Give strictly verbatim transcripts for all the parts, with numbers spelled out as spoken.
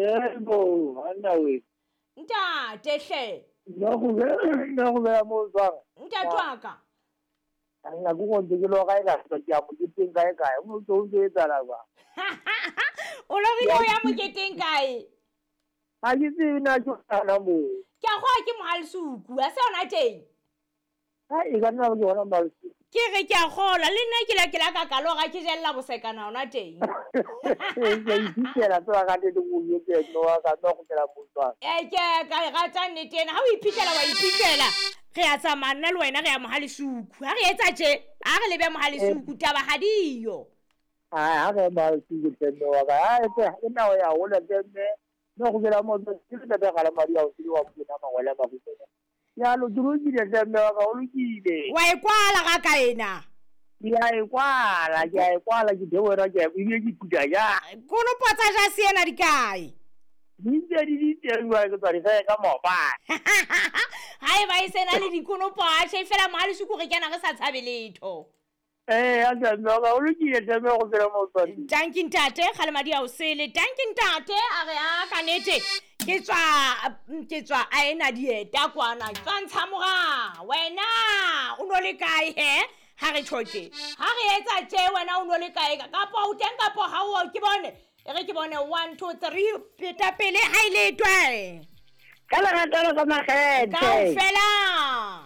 Yebo, anna we. Ntate hle. Nna go nna go bea mo jwang? Ntate wa ka. Nna go go ke lo ga ka ke ya moketeng kae kae. O ntse o ntse etsahala jwang? O lorile o ya moketeng kae? Ha ke tsebe na ke ona moo. Ke a goa ke Mohalisuku, a se ona teng. Ha e ka nna ke ona Mohalisuku. Ke re ke a gola le nna ke la ke la ka kaloga ke jella bosekana ona teng. Ke iphitlhela tsela ka teng o yetse no wa ka no go tela mo jwang. E ke ka e rata nnete ena, ha o iphitlhela wa iphitlhela. Re a tsamaya nna le wena re ya Mohalisuku. Ha re etsa tje, ha re lebe Mohalisuku taba ha diyo. Ha ha re Mohalisuku teng wa ka. Ha e ke nna o ya hola teng no go bela mo ke le tata ga la madi a o tsile wa bona mangwele ba go tsena. Ya lo ke lokile hle mme wa ka o lokile. Wa e kwala ga ka ena. Ke a e kwala, ke a e kwala ke dewera ke a ebile ke phuta ja. Konopo tsa ja se ena di kae? Di ntse di di teng jwale ke tswa di reka maobane. Ha e ba e sena le dikonopo a tjhe fela Mohalisuku re kena re sa tshabe letho. Eh, a hle mme wa ka o lokile hle mme go bela mo jwang. Dankie ntate, kgale madi a o sele. Dankie ntate, a re a ka nete. Ke tswa ke tswa a ena dieta kwana. Tswa ntsha mora. Wena o no le kae he? Ha re tjho tje. Ha re etsa tje wena o no le kae? Kapa o teng kapa ha o ke bone. E re ke bone one two three peta pele ha ile twe. Ka lerato la ka makgethe. Kaofela.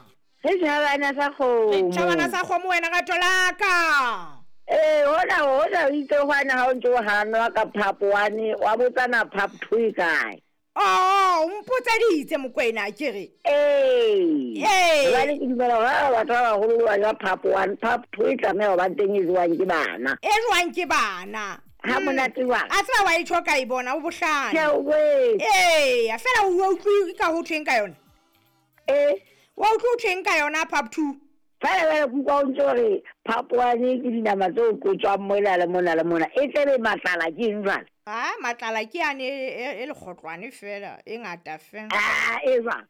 Re tjhabana sa kgomo. Re tjhabana sa kgomo wena rato la ka. Eh, hona hona o itse hwana ha o ntse o hanwa ka phapo wane, wa botsana phap two e kae? Oh, o mpotseditse Mokwena ke re. Ee. Ee. Jwale ke dumela hore ha batho ba baholo ba ja phap one, phap two e tlameha ho ba teng e jewang ke bana. E jewang ke bana. Ha monate jwang? A tseba wa e tjho ka e bona o bohlale. Ke a o botsa. Ee, fela o utlwe ka ho thweng ka yona? Eh. Wa utlwe ho thweng ka yona phap two? Fela fela ke utlwa o ntse o re phap one ke dinama tse o qotswang mola le mona le mona. E tlebe matlala ke eng jwale? Ah, matlala ke yane e, e lekgotlwane fela, e ngata fela. Ah, e jwang?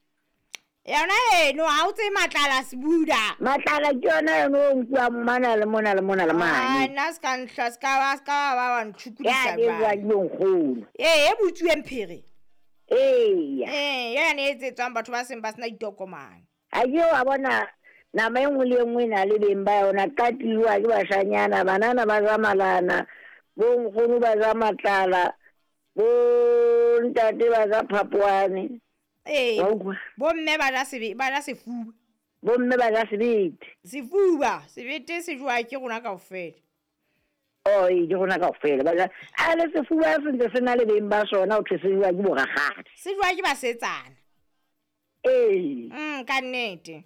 Yona eno ha o tsebe matlala sebuda. Matlala ke yona eno o nkuwang mona le mona le mona le mane. Ah, nna se ka ntlha, se ka ba, se ka ba wa ntshukudisa Ya, e jwang ke nkgono. Ee, e butsuweng phiri. Eya. Ee, yane e etsetswang batho ba seng ba sena ditokomane. Ha ke wa bona nama e nngwe le e nngwe e na le beng ba yona, qatiwa ke bashanyana, banana ba ja malana, bo nkgono ba ja matlala, bo ntate ba ja phapwane. Ee, Wa utlwa? bo mme ba ja sebe, ba ja sefuba. Bo mme ba ja sebete. Sefuba, sebete se jowa ke rona kaofela. Oh, ee, ke rona kaofela. Ba ja, a le sefuba se ntse se na le beng ba sona, ho thwe se jowa ke bo rakgadi. Se jowa ke basetsana. Ee. Mm, ka nnete.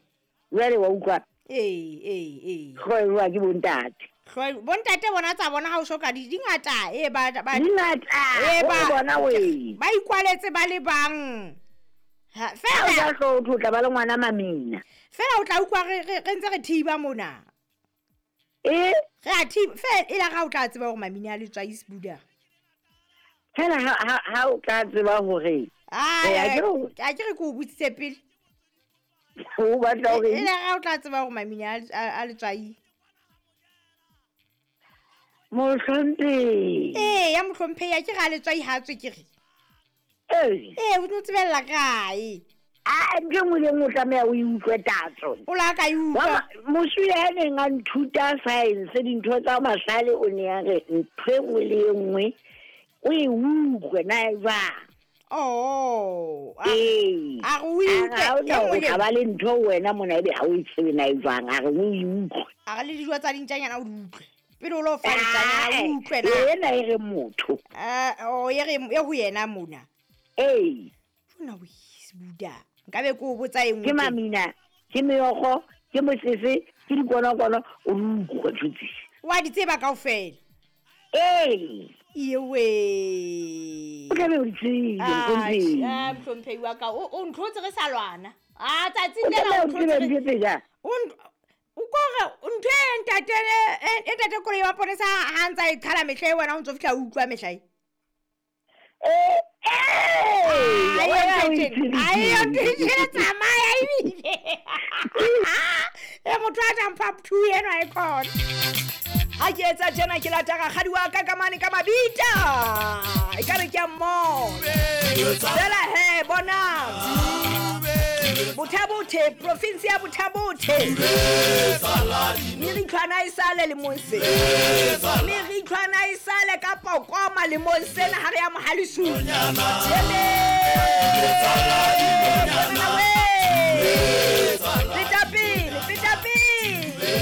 Jwale wa utlwa? Ee, ee, ee. Hlooho e jowa ke bontate. Hlooho, bontate bona tsa bona ha o soka di, di ngata, ee, ba, ba, Di ngata, ee, o ba, bona we. Ba ikwaletse ba le bang. Ha, Ha o fela ja hlooho o tlo tla ba le ngwana mamina. Fela o tla utlwa re, re, re ntse re thiba mona. Eh? Re a thiba, fela e la ga o tla tseba hore mamina a letswai sebuda. Fela ha, ha, ha o tla tseba hore Ah, Eh, a ke re o a ke re ke o botsitse pele. O batla hore E la ga o tla tseba hore mamina a, a, a letswai. Mohlomphehi. Ee, ya mohlomphehi, a ke re a letswai ha tswe ke re. Ee. Ee, o no tsebella kae? Ah, ntho e nngwe le e nngwe o tlameha o e utlwe tatso. O la ka e utlwa. Wa ma-, mosuwe ya neng a nthuta science, dintho tsa mahlale, o ne a re ntho e nngwe le e nngwe o e utlwe na e jwang. Oh, a Ee. a re o e A re utlwe, ha o e na nngwe hore le tla ba le ntho wena mona ebe ha o e tsebe na e jwang, a re o e utlwe. A re le dijo tsa dintjanyana o di utlwe. Pele o lo fa dintjanyana, o utlwe na. Ah, ena e re motho. Ah, oh, e re, e ho yena mona. Ee. Jona o sebuda. Nkabe ke o botsa e nngwe Ke teng. mamina, ke meokgo, ke mosese, ke dikonokono, o di utlwe ntho tse. Wa di tseba kaofela? Ee. Ewe. O tlabe o di tsebe, Ah, mohlomphehi. ah, mohlomphehi wa ka, o, o ntlhotse re sa lwana. Ah, tsatsing O lena tlameha o o tsebe ntlhotse re ntho tse jang? O nt-, o kore ntho e ntate e, e ntate Koloi wa Ponesa ha ntsa e qhala mehla e wena o ntso fihla o utlwa mehla e. Eh, eh, Ah, wena e o ntho e tjena. itsebile. Ah, e ntho e tjena, tsamaya ebile. E motho a jang pap two enwa e khona. Ha ke etsa tjena ke lata rakgadi wa ka ka mane ka mabita. Ekare ke a mmona. Fela he bonang. Botha-Bothe, province ya Botha-Bothe. Meritlhwana e sale lemong sena. Meritlhwana e sale ka pokoma lemong sena ha re ya Mohale's Hoek.